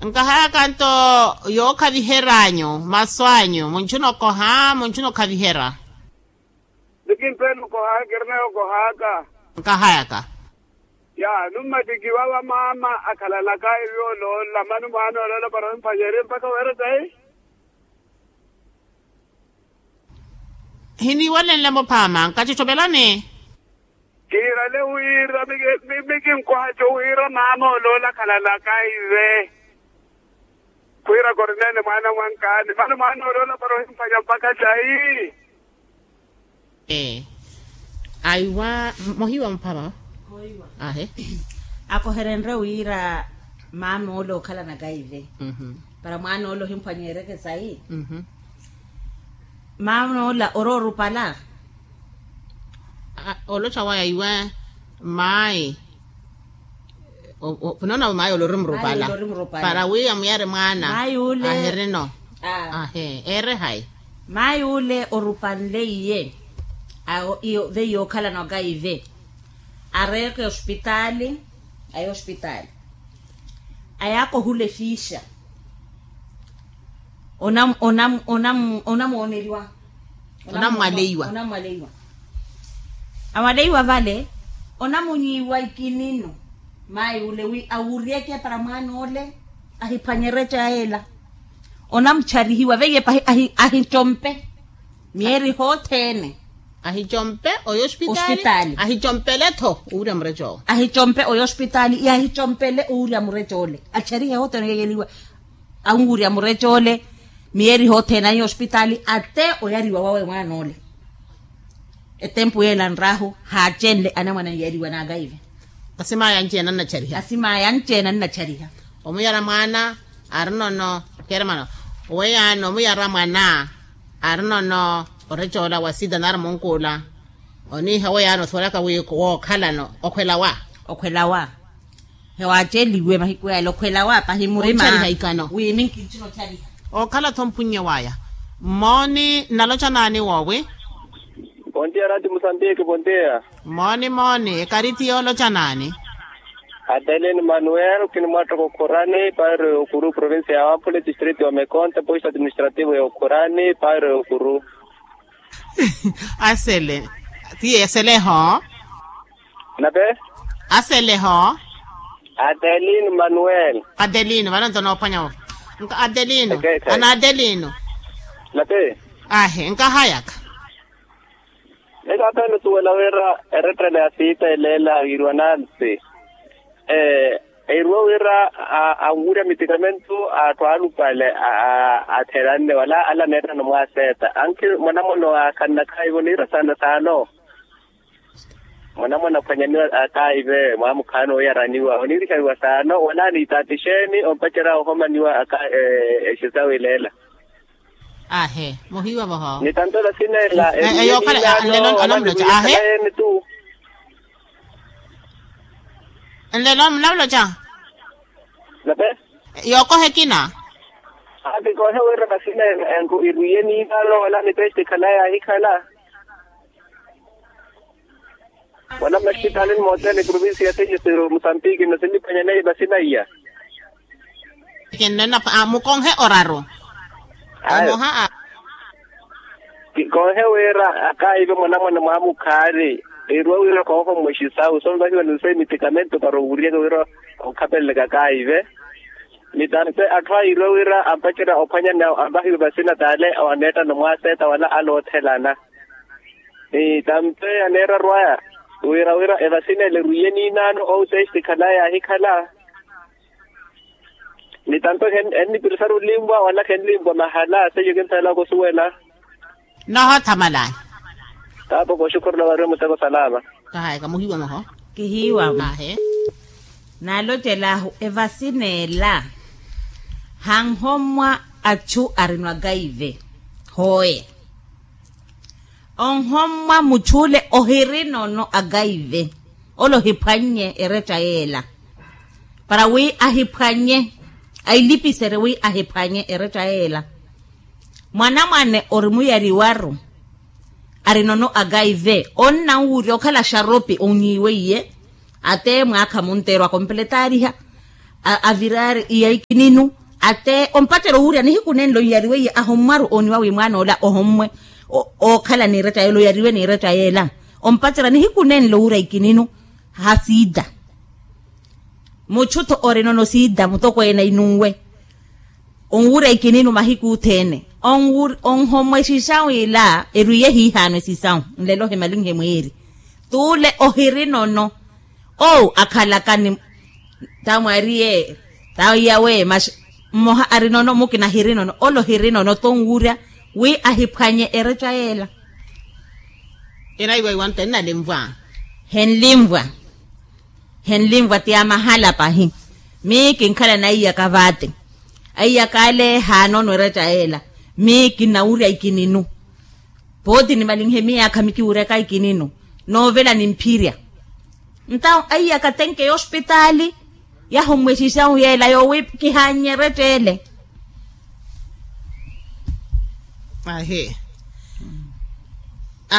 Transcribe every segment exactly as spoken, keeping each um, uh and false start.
Nkahayaka nto yookhaviheryanyu masu anyu munchuna okoha munchuna okhaviherya. Nikimpeela okohaka erina yookohaka. Nkahayaka. Ya nummatiki vava mama akhalanaka evi oloola mani mwaana oloola para omphanyerye mpakha weera tahi. Hiniiwalenle muphaama nkachochovelani. Kiirale wira mikinkohaco wira mama oloola akhalalaka ive. Khwiira korneele mwaana mwankaani mani mwaana oloola para ohimphanya mpakha tahi. Aiwa mohiwa mphama. Ahe. Akoherenrye wira mama ole okhalanaka ive para mwaana ole ohimphwanyeeryeke sayi. Mama ola oroorupala. Oloca waya iwe mayi. Onoona mayi olorimurupala para wi amuyari mwaana. Ahirino. Ahe ere hayi. Mayi ule orupanle iye. Veiye okhalanaka ive areeke ospitaali. Aya ospitaali. Ayaaka ohula efiisha. Onam onam onam onamwooneriwa. Onamwaleiwa. Onamwaleiwa. Amwaleiwa vale onamunyiiwa ikinino. Mayi ule wi awuryeke para mwaana ole ahiphwanye ereca yeela. Onamucharihiwa veiye pahi ahichompe. Miyeeri hothene. Ahicompe oyo ospitaali. Ahicompeletho owurya mureca owo. Ahicompe oyo ospitaali ihahicompele owurya mureca ole acharihe hothene oyeyeliwa. Awuwurya mureca ole miyeeri hothene ahiya ospitaali ate oyariwa wawe mwaana ole. Etempu yeela nraahu haacenle anamwane anyiyariwa naakaive. Asimaya anci-ene annachariha. Asimaya anci-ene annachariha. Omuyara mwaana arinono keremano. Oweyaano omuyara mwaana arinono oreca ola wa sida nari munkuula. Oniiha oweyaano osuwelaka wi wookhalano okhwela wa. Okhwela wa. Hewaaceliwe mahiku yale okhwela wa pahi murima. Onchariha ikano. Wi minki nchino ochariha. Okhala-tho mpunnye waya. Mmooni naloca naani woowi? Bondia rati musambiki bondia. Mooni mooni ekarithi yooloca naani? Adelin manuel kinimwattoko khurani pairo ya okuru provincia ya wampule distrito ya mekonte poisto administrativo ya okhurani pairo ya okuru. Asele. Tiye eseleho. Nape. Aseleho. Adelin manuel. Adelino vano nto noophwanya vo. Nka adelino. Ana adelino. Nape. Ahe nkahayaka. Ekaapele osuwela wira erettele ya siita eleela yiiriwa nansi. Eiriwa wira anwurya mitikamentu atthu alupale atheeranne wala ala aneettana omwaaseeta ankhi mwanamwana owaakhanna khaivo niira saana saano. Mwanamwana aphwanyaniwa akaive mwaamukhaani oyaraniwa oniirihaniwa saano wala aniitaatixeeni ompacerya ohomaniwa. Exisa wileela. Ahe muhiiwa voho. Ni tanto vasineela. Eyookhala nlelo anamuloca ahe. Nlelo munamuloca. Nape. Yookoha ekina. Ati koohe wira vasineela enku irwiye niinano wala ni peste khala yaahikhala. Wala mmasipitaali ni mootene provincia ya seyesero musambiki nno sinniphwanya neiva sinaiya. Mukonhe oraru. Ayo. Kikonhe wira akaive mwanamwana mwaamukhaani. Eruwa wira koohomwexisawu sonvahiwa ni nse mitikamento para owuriyaka wira okhapeleleka akaive. Ni tampe atthu ayiiruwa wira ampacerya ophwanya ni anvahiwe vasina taale awaneettana omwaaseeta wala ale oothelana. Ni tampe aneera arwaya wira wira evasina ele erwiye niinaano ou testi khala yaahikhala. Ni tampe ennipirisari olimwa wala khenlimwa mahala seiyo kintheelaka osuwela. Nohothamalani. Tapo kooxukhurula wariwe muteko salama. Kahaya kamuhiiwa moho. Kihiiwa mwahe. Naalocel'ahu evasina ela hanhommwa achu arinwa kaive. Hooye. Onhommwa muchule ohirinono akaive ole ohiphwannye ereca yeela. Para wi ahiphwannye ailipiserye wi ahiphwannye ereca yeela. Mwanamwane orimuyariwaru arinono akaive onnanwurya okhala xaropi onyiiweiye. Ate mwaakha munteerwa akompeletaariha. Aviraari iya ikininu, ate ompacerya owurya nihiku nenlo iyariwe iya ahommwaru ooniwa wi mwaana ola ohommwe. Ookhala n'iretta yeela oyariwe n'iretta yeela, ompacerya nihiku nenlo owurya ikininu. Ha siida, muchu-tho orinono siida mutokweene inunwe. Onwurya ikininu mahiku othene. Onhommwa esisawu ila erwiye hiihaano esisawu. Nlelo ohimalinhe mwiiri t'ule ohirinono. Owu akhalaka ni tamwariye tawiyawe masi mmoha arinono mukina hirinono ole ohirinono tonwurya wi ahiphwanye eretta yeela. Ira iwaiwa nto ennalimvwa. Henlimvwa. Henlimvwa ti ya mahala pahi. Mii kinkhala na aiyaka vaati. Aiyaka ale haanono eretta yeela. Mii kinnawurya ikininu. Pooti nimalinhe miyaakha mikiwuryaka ikininu noovela nimphirya. Ntawo aiyaka tenke y'ospitaali yahommwesisawu yeela yoowi kihaannye eretta ele. Ahi.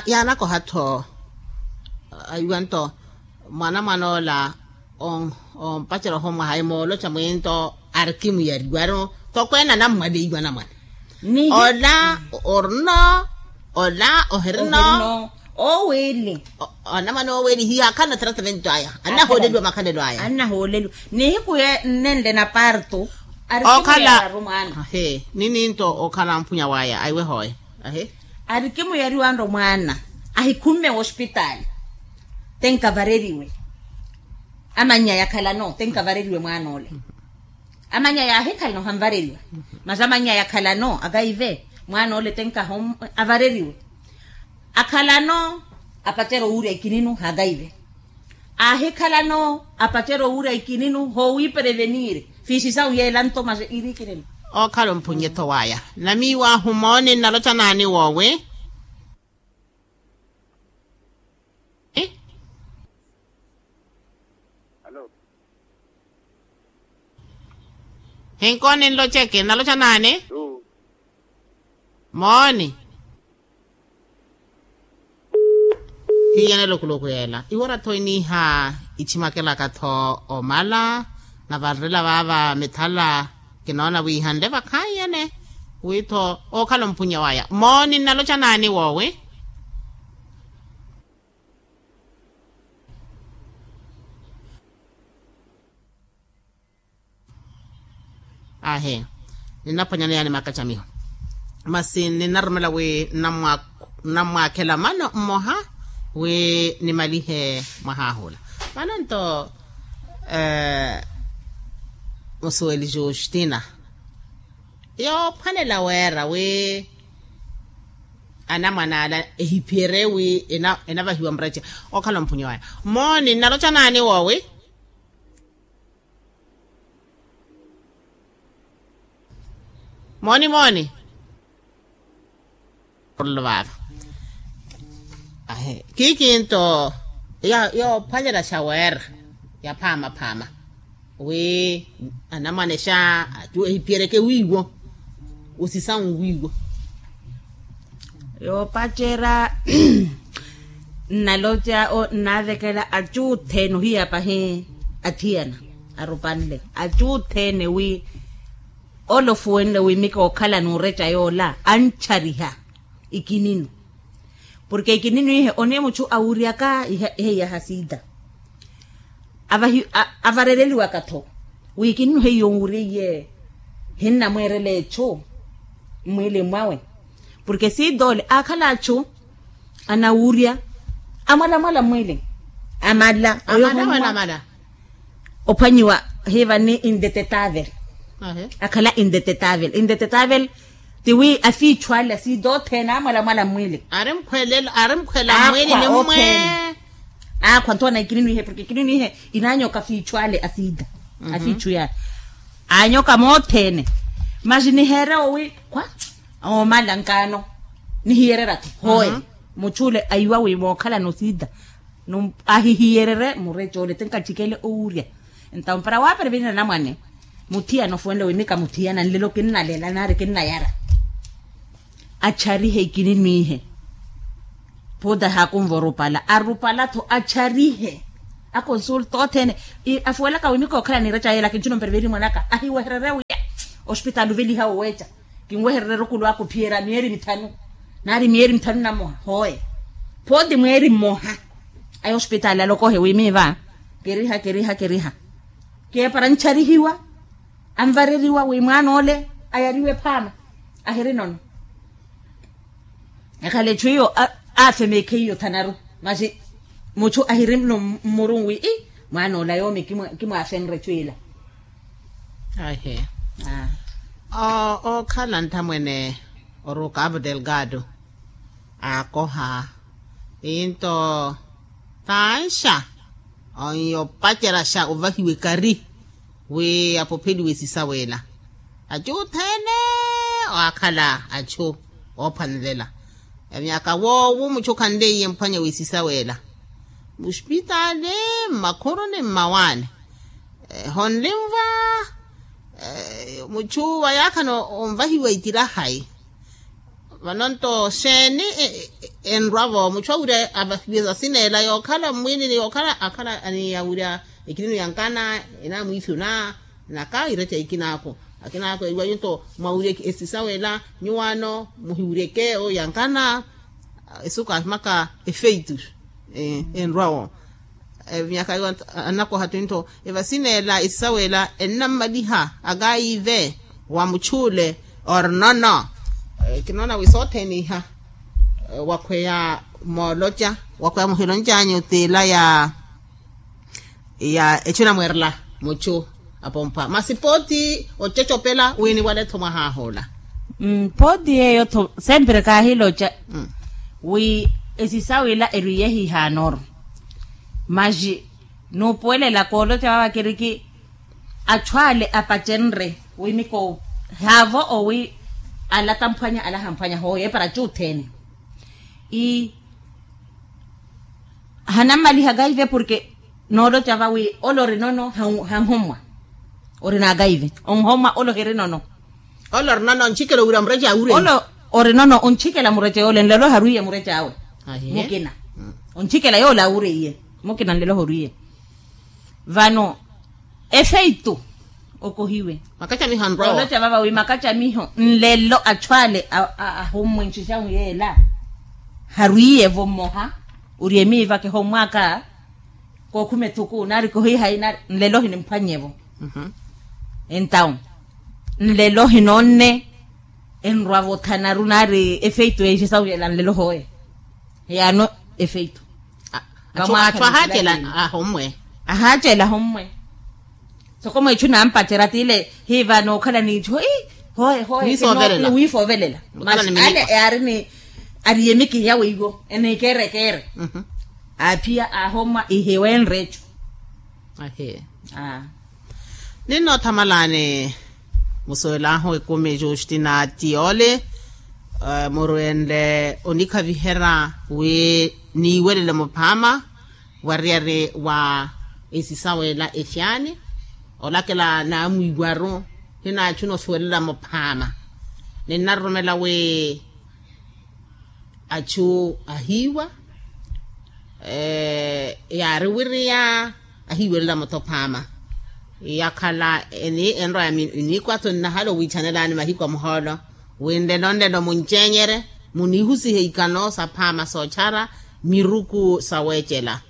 Yaanakoha-tho. Aiwa nto mwanamwan'ola ompacerya ohommwaha emooloca mwinto arikimuyariwa tokweene anammwaleiwa anamwane. Ola orino ola ohirino. Oowili. Anamwane oowili hiya akhala na tratamento aya. Annahooleliwa makhalelo aya. Annahooleliwa nihiku ye nnenle na parto. Arikimuyariwa mwaana. Nininto okhala mphunya waya aiwe hooye. Arikimuyariwa nto mwaana ahikhumme wospitaali. Tenkavareriwe. Amannya yakhalano tenkavareriwe mwaana ole. Amannya yaahikhalano hanvareriwa. Masi amannya yakhalano akaive mwaana ole tenkaho avareriwe. Akhalano apacerya owurya ikininu hakaive. Aahikhalano apacerya owurya ikininu hoowiipereveniire. Fiisisawu yeela nto masi iri ikininu. Ookhala omphunnye-tho waya. Namiiw'ahu mooni nnaloca naani woowi? Hinkooni nloceke naloca naani? Mooni. Hiyanelo khuluku yeela iwora-tho iniiha. Ichimakelaka-tho omala na vanrela vaava mithala. Kinoona wi ihanle vakhaiyene wi-tho ookhala omphunya waya mooni nnaloca naani woowi? Ahi. Ninnaphwanyana yaani makacamiho masi ninnarumela wi nnammwaakhela mano mmoha wi nimalihe mwahaahula. Mano nto musuweli justina yoophwanela weera wi anamwane ala ehiphiyerye wi enavahiwa murece. Okhala omphunyi waya mooni nnaloca naani woowi? Mooni mooni. Vaava kikinto yoophwanyela xaweera ya phaamaphaama wi anamwanexa acu ehiphiyereke wiiwo. Osisawu wiiwo. Yoopacerya nnaloca nnavekela acu othene ohiya pahi athiyana arupanle acu othene wi ole ofuwenle wi mika okhala n'ureca yoola anchariha ikininu. Porke ikininu ihe oniye muchu awuryaka ihe iya hasida avarereliwaka-tho wi ikininu heiyo onwurye iye hinnamweerela echu mmwiili mwawe. Porke sida ole aakhala achu anawurya amwalamwala mmwiili amala oyo ophwanyiwa hiva ni indetettavel. Akhala indetettavel indetettavel tiwi afiichu ale asida othene amwalamwala mmwiili ari mkhwela mmwiili ni mmwe. Aakhwa ntoona ikininu ihe porke ikininu ihe inaanyoka afiichu ale asida afiichu yale aanyoka moothene. Masi niheere owi khwa oomala nkaano nihiyerera-tho hooye muchu ole aiwa wi mookhalana osida ahihiyerere mureca ole ti nkachikele owurya. Entawo para waaperevenina anamwane muthiyana ofuwenle wi mika muthiyana nlelo kinnalela nari kinnayara acharihe ikinimwiihe. Phuta haakunva orupala arupala-tho acharihe Akonsulta othene. Afuwelaka wi mikookhala niira cayeela kinci nomperi veeri mwanaka ahiwehererye wiya ospitaali oveliha oweeca. Kinwehererye rukulu aka ophiyerya miyeri mithanu nari miyeri mithanu na mmoha hooye. Phooti mweeri mmoha aya ospitaali alokohe wi miiva kiriha kiriha kiriha. Keepara ancharihiwa anvareriwa wi mwaana ole ayariwe phaama ahiri nono. Ekhala echu iyo aafemeekhe iyo thanaru masi muchu ahiri mmurunwi mwaana ola yoomi. Kimwaafenre echu ila. Ahi. Ookhala nthamwene oruka avu delgado aakoha. Into tanxa onyopaceryaxa ovahiwa ekari wi apopheliwe esisawela. Achu othene waakhala achu oophwanlela. Myaka woowo muchu khanleiye mphwanya w'esisawela muspitaali mmakhuruni mmawaani. Honlimva muchu wayaakhana onvahiwa itirahayi. Vano nto xeeni enrwa-vo muchu awirya avahiwe esasineela yookhala mmwiinini yookhala akhala aniyawirya ekilinu ya nkana enamwiifyuna naka ireca ikinaako akinaaku ewanyu nto mwawirye esisawela nyuwaano muhiwiryeke oyo ya nkana. Esuku ahimaka efeitu enrwa-wo. Myaka yo annakoha tuni nto evasineela esisawela ennammaliha akaive wa muchule. Orinono kinoona wi soothene iha wakhweya mooloca wakhweya muhiloncanyu t'ila ya ya echu namwerela muchu apompa masi pooti ococopela wi niwale-tho mwahaah'ola. Pooti yeeyo-tho sempre kaahiloca wi esisawila erwiye hihaanoru. Maxi nuupuwelela kooloca vava kiriki achu ale apacenre wi miko haavo owi ala tamphwanya ala hamphwanya hooyo epara cuthene. Ii hanammaliha kaive porke nooloca vawi ole orinono hanhommwa. Ori naakaive onhommwa ole ohirinono. Ole orinono onchikela owira mureca awureye. Ole orinono onchikela mureca yoole nlelo harwiye mureca awe. Mukina onchikela yoole awureye mukina nlelo horwiye. Vano efeitu okohiwe. Makacamiho nrowa oloca vava wi makacamiho nlelo achu ale ahommwe nxixahu yeela. Harwiye-vo mmoha ori emiiva kihommwaka kookhuma ethuku nari kohihayi nari nlelo ohinimphwanye-vo. Entawu nlelo ohinoonne enrwa-vo thanaru nari efeitu enxixahu yeela nlelo hooye. Yaano efeitu. Achu ahaacela ahommwe. Ahaacela ahommwe. Soko mweechu nampacerya t'ile hiiva nookhala n'itthu hoye hoye hoye wiifoovelela. Masi ale yaari ni ari yemiki ya weiwo eniikeerekeere. Aaphiya aahommwa ihiwenre echu. Ahi. Ninnoothamalaani musuwel'ahu ekumi justina tiyoole murwenle onikhaviherya wi niiwelele muphaama wariyari wa esisawela efyaani. Olakela naamwiiwaru hinaachuna osuwelela muphaama. Ninnaroromela wi achu ahiiwa yaari wiriya ahiiwelela mutophaama. Yakhala eni enrowa ya minikwato nnahala owiichanelani mahiku a muhoolo wi nlelo nlelo muncenyerye muniihusihe ikano saphaama soochara miruku saweecela.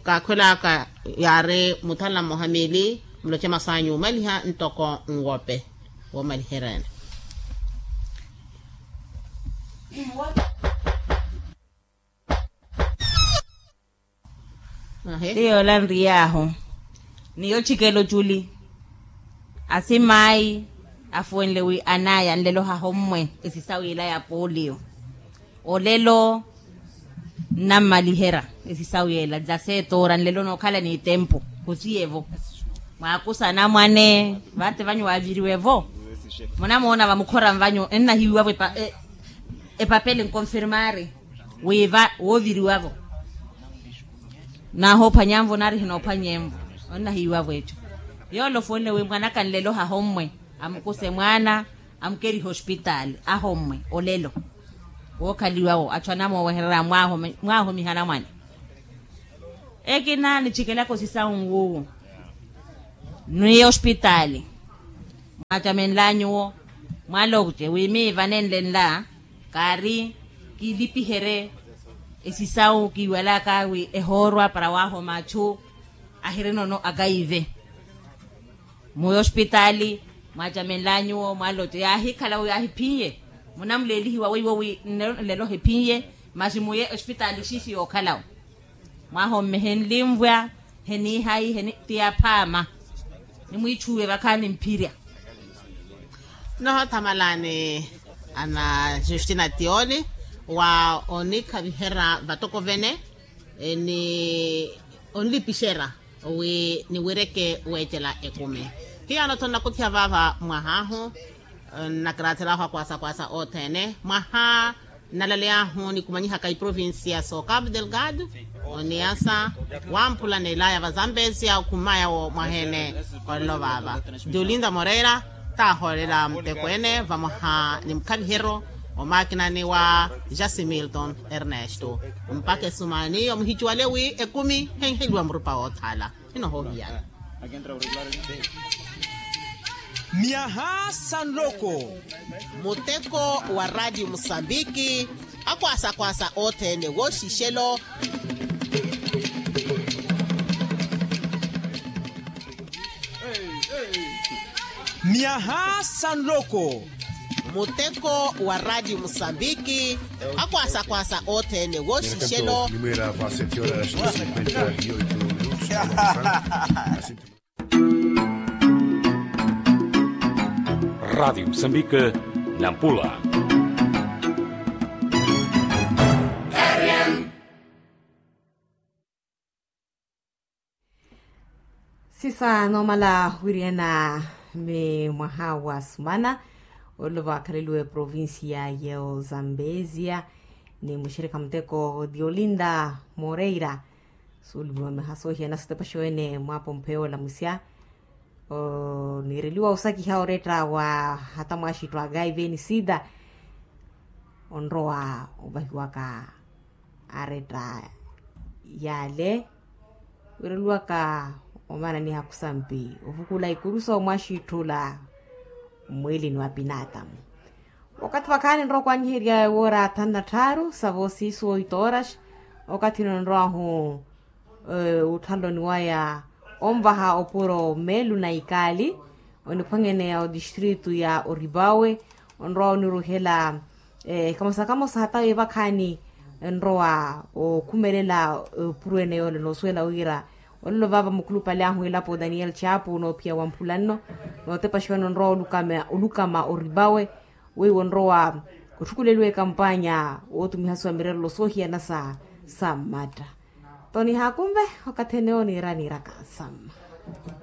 Kaakhwel'aka yaari muthala mmoha miili muloce masu anyu omaliha ntoko nwope woomaliheryani. Ti yoola nriy'ahu ni yochikela oculi asim'ayi afuwenle wi an'aya nlelo hahommwe esisawu ila ya polio. Olelo nnammaliherya esisawu ela nzaseetoora nlelo nookhala n'itempu. Khosiye-vo mwaakusa anamwane vate vanyu waaviriwe-vo. Munamoona vamukhora vanyu ennahiiwavo epapele nkonfirmari wiiva wooviriwavo. Nahoophwanyanvo nari hinoophwanyenvo onnahiiwavo echo. Yoole ofuwenle wi mwanaka nlelo hahommwe amukuse mwaana amukerihe ospitaali ahommwe olelo. Wookhaliwawo achu anamoowehererya mwaahomiha anamwane. Ekina nichikelaka osisawu nwuwo, nwiya ospitaali, mwaacamenla nyuwo, mwaloce wi miiva nenlenla kaari, kiilipiherye esisawu kiiwalaka wi ehoorwa para waahoma achu ahirinono akaive. Muyo ospitaali, mwaacamenla nyuwo mwaloce yaahikhala wi yaahiphinye, munamuleelihiwa weiwo wi nlelo hephinye, masi muye ospitaali xiixi yookhalawo. Mwaahomme henlinvwa, heniihayi heni ti yaphaama, nimwiithuwe vakhaani mphirya. Nohoothamalani ana justina tioni wa onikhaviherya vatokovene, ni onlipixerya wi niwireke weecela ekumi. Hiyano thonnakutthiha vaava mwahaahu, nnakiraatheryahu akwaasa akwaasa othene mwaha nnalaleyahu nikumanyihaka iprovincia so cabo delgado, oniasa wamphula neelaya vazambesia okhummaya wo mwahene. Olelo vaava, diolinda moreira taahoolela muteko ene vamoha ni mukhaviheryo omaakinani wa jasimilton ernesto. Mpakha esumani omuhicuwale wi ekumi henheliwa murupa woothala. Inohohiyana myaha sa nloko. Muteko wa radio musambiki, akwasa kwasa othene woxixelo. Myaha sa nloko. Muteko wa radio musambiki, akwasa kwasa othene woxixelo. Radio musambiki, nampula. Sisa noomala wiriana, mi mwaha wa sumana, olova akhaleliwe provincia ya ozambezia, ni muxirikha muteko diolinda moreira. Suulumiwa miha soohiyana sitepaxi wene mwapompheya olamusya, oniireliwa osakiha oretta wa hata mwaxittu a gaive ni sida, onrowa ovahiwaka aretta yale, wiireliwaka omananiha khusampi ovukula ikuru soomwaxitthula, mmwilini wa pinatamu. Okathi vakhaani nrowa okwanyiherya ewoora thanu na tthaaru savo siisu oito horas. Okathi ino nrowahu othaloni waya onvaha opuro melu na ikaali, oniphwanyeneya otistritu ya oripawe. Onrowa oniruhela kamosa kamosa hata wi vakhaani enrowa okhumelela opuro ene yoole noosuwela wira olelo vaava mukhulupale ahu elapo daniel chapu noophiya wa mphula nno, nootepaxiwa nonrowa olukama oripawe. Weiwo onrowa otthukuleliwa ekampanya wootumihasiwa mirerelo soohiyana sa mmatta. Toni haakumve okathi ene oniira niiraka samma.